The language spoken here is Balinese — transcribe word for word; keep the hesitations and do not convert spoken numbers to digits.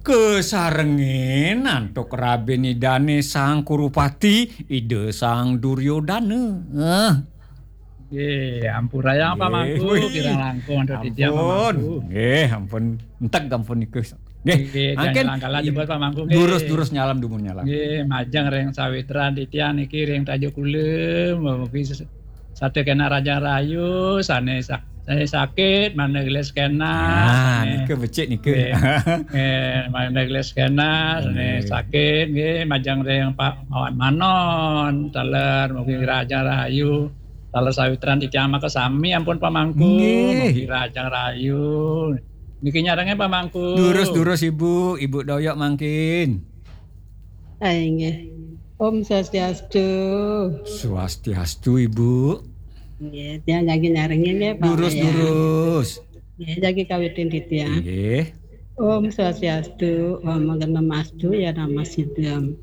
Kesarengin antuk rabin idane Sang Kurupati, Ida Sang Duryodana. Eh. Nggih, ampurayang Pak Mangku, kirang langkung antuk titiang Pak Mangku. Nggih, ampun. Enteg ampun niku. Nggih, mangkin langkala jebos Pak Mangku nggih. Durus-durus nyalam dumun nyalam. Nggih, majeng ring sawitran titiang niki ring Tajuk Kulem, mugi satu kena raja rayu, sane sak Sane sakit, mangda gelis kena. Nah, sane, nika becik nika. Nggih. Eh, mangda gelis kena, sane sakit, nggih, majeng ring Pak Mawan Manon, taler mugi raja rayu, taler sawitran titiang maka sami ampun Pak Mangku, nggih. Mugi raja rayu. Niki nyarenge Pak Mangku. Durus-durus Ibu, Ibu Doyok mangkin. Hai, nggih. Om Swastiastu. Swastiastu, Ibu. Nggih, tiang jagi nyarengin nggih, Pak. Durus-durus. Nggih, jagi kawitin titiang. Nggih. Om Swastiastu, Om Agama Astu, ya nama sidam.